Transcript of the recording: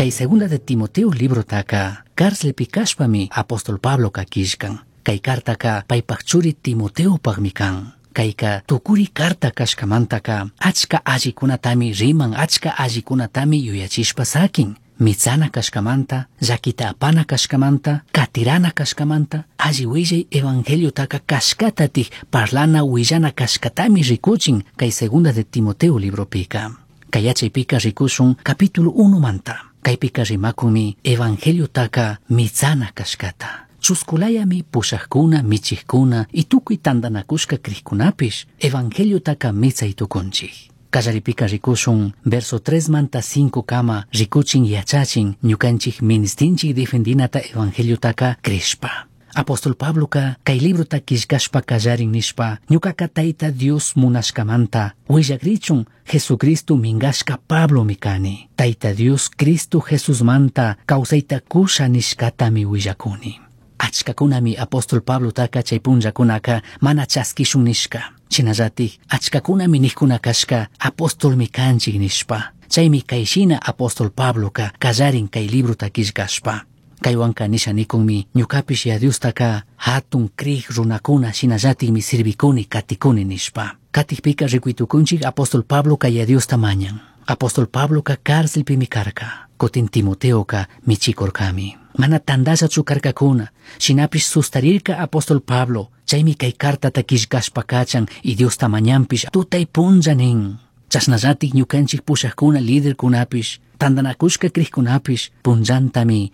Kay Segunda de Timoteo librotaka cárcelpi kashpami apóstol Pabloka killkan. Kay cartaka paypak churi Timoteopakmi kan. Kayka tukuri carta kashkamantaka achka allikunatami riman, achka allikunatami yuyachishpa sakin. Mitsana kashkamanta, llakita apana kashkamanta, katirana kashkamanta, alli willay evangeliotaka kashkatatik parlana willana kashkatami rikuchin kay Segunda de Timoteo libropika. Kay yachaypika rikushun capítulo 1 manta. Kaypika rimakunmi evangeliotaka mitsana kashkata. Chuskulayami pushajkuna, michijkuna y tukuy tantanakushka crijkunapish evangeliotaka mitsay tukunchik. Kallaripika rikushun verso 3 manta 5 kama rikuchin yachachin ñukanchik ministinchik defendinata evangeliotaka crishpa. Apóstol Pabloka kay librota killkashpa kallarin nishpa ñukaka Tayta Dios munashkamanta willakrichun Jesucristo mingashka Pablomi kani. Tayta Dios Cristo Jesusmanta kawsayta kusha nishkatami willakuni. Achkakunami apóstol Pablotaka chay punllakunaka mana chaskishun nishka. Shinallatik achkakunami nijkuna kashka apostolmi kanchik nishpa. Chaymi kayshina apóstol Pabloka kallarin kay librota killkashpa. Kaywanka nisha nikunmi ñukapish ya Diostaka hatun krij runakuna shinallatikmi sirvikuni katikuni nishpa. Katikpika rikuytukunchik apóstol Pabloka ya Diosta mañan. Apóstol Pabloka cárcelpimi karka. Kutin Timoteoka michikurkami. Mana tandallachu karkakuna. Shinapish sustarirka apóstol Pablo. Chaymi kay cartata killkashpa kachan y Diosta mañanpish tutay punlla nin. Chashnallatik ñukanchik pushakuna liderkunapish tantanakushka crijkunapish punllantami.